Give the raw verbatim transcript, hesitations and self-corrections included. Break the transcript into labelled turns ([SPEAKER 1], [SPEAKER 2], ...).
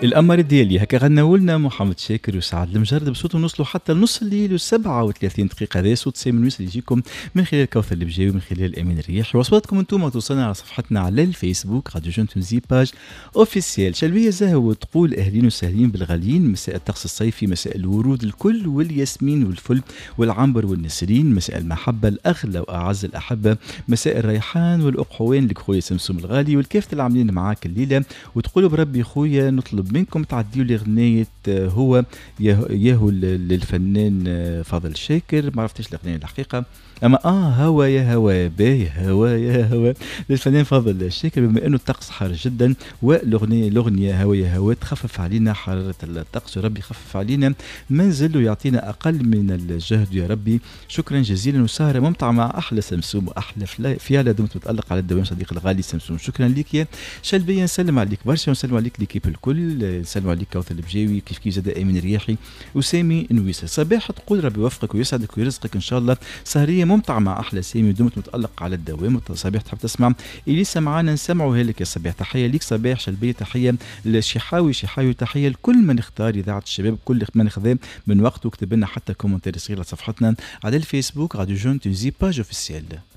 [SPEAKER 1] القمر ديالي هكا غنوا لنا محمد شاكر وسعد المجرد بصوتهم. نوصلوا حتى لنص الليل وسبعة وثلاثين دقيقة. هذا صوت سامي نويس اللي يجيكم من خلال كوثر البجاوي، من خلال امين الرياحي، وصواتكم انتم توصلنا على صفحتنا على الفيسبوك Radio Jeune Tunisie page officielle. شلبيه زهو تقول اهلين وسهلين بالغاليين، مساء الطقس الصيفي، مساء الورود الكل والياسمين والفل والعنبر والنسرين، مساء المحبة الاغلى واعز الاحبه، مساء الريحان والاقحوان لك خويا سمسوم الغالي والكافة اللي عاملين معاك الليله. وتقولوا بربي خويا نطلب منكم تعديوا لي غنية هو ياهو للفنان فاضل شاكر، ما عرفتش الاغنية الحقيقه، اما اه هوا يا هوا باهي هوا يا هوا للفنان فاضل الشاكر، بما انه الطقس حار جدا والاغنية الاغنية هوا يا هوا تخفف علينا حرارة الطقس، وربي يخفف علينا منزل ويعطينا اقل من الجهد يا ربي. شكرا جزيلا وسهره ممتعة مع احلى سمسوم واحلى فيالا، دمت متالق على الدوام صديق الغالي سمسوم. شكرا لك يا شلبيه، نسلم عليك برشا ونسلم عليك l'équipe الكل، نسلم عليك كوثر البجاوي كيف كيف زاد امين الرياحي وسامي نويسه. صباح تقول ربي يوفقك ويسعدك ويرزقك ان شاء الله، سهريه ممتعة مع أحلى سامي ودمت متألق على الدوام. صباح تحب تسمع إليسا معانا نسمعوها لك يا صباح. تحية ليك صباح شلبية، تحية لشحاوي شحاوي، تحية لكل من اختار إذاعة الشباب، كل من خذا من وقته وكتب لنا حتى commentaire صغير على صفحتنا على الفيسبوك Radio Jeune Tunisie page officielle.